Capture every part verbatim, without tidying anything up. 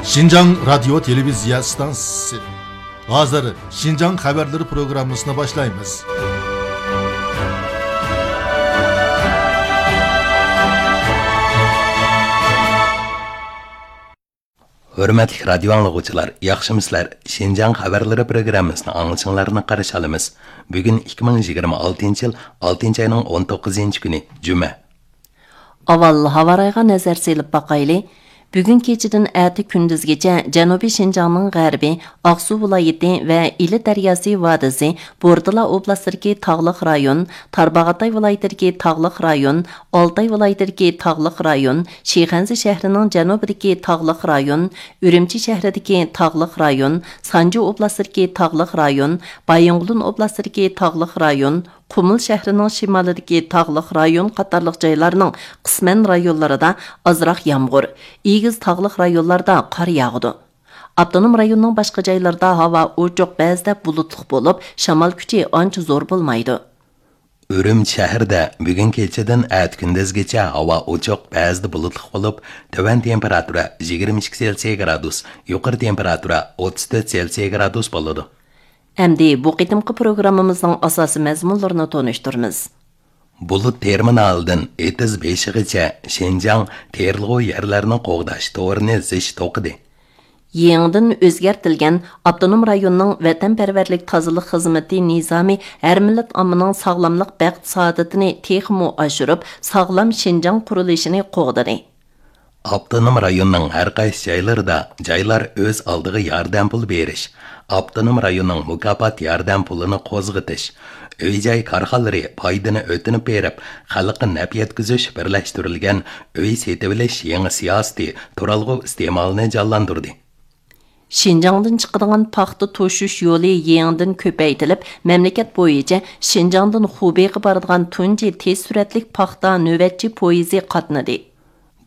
شىنجاڭ رادىيو تېلېۋىزىيە ئىستانسىسى. ھازىر شىنجاڭ خەۋەرلىرى پروگراممىسىنى باشلايمىز. ھۆرمەتلىك رادىيو ئاڭلىغۇچىلار، ياخشىمۇسىلەر؟ شىنجاڭ خەۋەرلىرى پروگراممىسىنى ئاڭلىشىڭلارنى قارشى ئالىمىز. بۈگۈن ئىككى مىڭ يىگىرمە ئالتىنچى يىل ئالتىنچى ئاينىڭ ئون توققۇزىنچى كۈنى، جۈمە. ئاۋۋال ھاۋارايغا نەزەر سېلىپ باقايلى. بۈگۈن كېچىدىن ئەتە كۈندۈزگىچە جەنۇبىي شىنجاڭنىڭ غەربى، ئاقسۇ ۋىلايىتى ۋە ئىلى دەرياسى ۋادىسى، بوردىلا ئوبلاستىدىكى تاغلىق رايون، تارباغاتاي ۋىلايىتىدىكى تاغلىق رايون، ئالتاي ۋىلايىتىدىكى تاغلىق رايون، شىخەنزە شەھىرىنىڭ جەنۇبىدىكى تاغلىق رايون، ئۈرۈمچى شەھىرىدىكى تاغلىق رايون، سانجى ئوبلاستىدىكى تاغلىق رايون، بايىنغولىن ئوبلاستىدىكى تاغلىق رايون، قۇمۇل شەھىرىنىڭ شىمالىدىكى تاغلىق رايون قاتارلىق جايلارنىڭ قىسمەن رايونلىرىدا ئازراق يامغۇر، ئېگىز تاغلىق رايونلاردا قار ياغىدۇ. ئاپتونوم رايوننىڭ باشقا جايلىرىدا ھاۋا ئوچۇق، بەزىدە بۇلۇتلۇق بولۇپ، شامال كۈچى ئانچە زور بولمايدۇ. ئۈرۈمچى شەھىرىدە بۈگۈن كېچىدىن ئەتە كۈندۈزگىچە ھاۋا ئوچۇق، بەزىدە بۇلۇتلۇق بولۇپ، تۆۋەن تېمپېراتۇرا يىگىرمە ئىككى سېلسىيە گرادۇس، يۇقىرى تېمپېراتۇرا ئوتتۇز تۆت سېلسىيە گرادۇس بولىدۇ. ئەمدى بۇ قېتىمقى پروگراممىمىزنىڭ ئاساسىي مەزمۇنلىرىنى تونۇشتۇرىمىز. بۇلۇت تېرمىنالىدىن ئېتىز بېشىغىچە شىنجاڭ تېرىلغۇ يەرلەرنى قوغداش تورىنى زىچ توقۇدى. يېڭىدىن ئۆزگەرتىلگەن ئاپتونوم رايوننىڭ ۋەتەنپەرۋەرلىك تازىلىق خىزمىتى نىزامى ھەر مىللەت ئاممىنىڭ ساغلاملىق، بەخت-سائادىتىنى تېخىمۇ ئاشۇرۇپ، ساغلام شىنجاڭ قۇرۇلۇشىنى قوغدىدى. ئاپتونوم رايوننىڭ ھەر قايسى جايلىرىدا جايلار ئۆز ئالدىغا ياردەم پۇلى بېرىش، ئاپتونوم رايوننىڭ مۇكاپات ياردەم پۇلىنى قوزغىتىش، ئۆي-جاي كارخانىلىرى پايدىنى ئۆتۈنۈپ بېرىپ، خەلققە نەپ يەتكۈزۈش بىرلەشتۈرۈلگەن ئۆي سېتىۋېلىش يېڭى سىياسىتى تۇرالغۇ ئىستېمالىنى جانلاندۇردى. شىنجاڭدىن چىقىدىغان پاختا توشۇش يولى يېڭىدىن كۆپەيتىلىپ، مەملىكەت بويىچە شىنجاڭدىن خۇبېيغا بارىدىغان تۇنجى تېز سۈرئەتلىك پاختا نۆۋەتچى پويىزى قاتنىدى.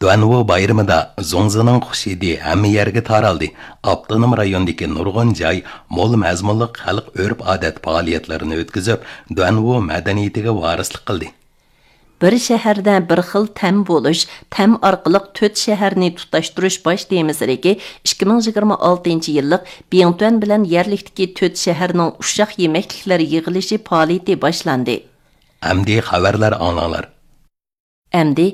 دۇەنۋۇ بايرىمىدا زۇڭزىنىڭ خۇشىدى ھەممە يەرگە تارالدى. ئاپتونوم رايوندىكى نۇرغۇن جاي مول مەزمۇنلۇق خەلق ئۆرپ-ئادەت پائالىيەتلىرىنى ئۆتكۈزۈپ، دۇەنۋۇ مەدەنىيىتىگە ۋارىسلىق قىلدى. بىر شەھەردە بىر خىل تەم بولۇش، تەم ئارقىلىق تۆت شەھەرنى تۇتاشتۇرۇش باش تېمىسىدىكى ئىككى مىڭ يىگىرمە ئالتىنچى يىللىق بىڭتۈەن بىلەن يەرلىكتىكى تۆت شەھەرنىڭ ئۇششاق يېمەكلىكلەر يىغىلىشى پائالىيىتى باشلاندى. ئەمدى خەۋەرلەر ئاڭلاڭلار. ئەمدى